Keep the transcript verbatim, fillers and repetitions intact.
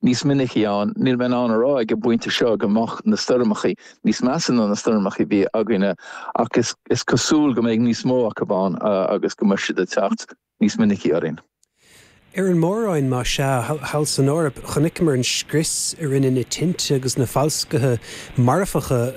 níos minicí ann. Níl mé in ann a rá ag an bpointe seo go mbeadh na stoirmeacha níos measa ná na stoirmeacha a bhí againne ach is, is cosúil go mbeidh níos mó acu ann agus go mbeidh siad ag teacht níos minicí orainn. Ar an mór-roinn má sea thall san Eoraip chonaiceamar an scrios a rinne na tinte agus na falscaithe marfacha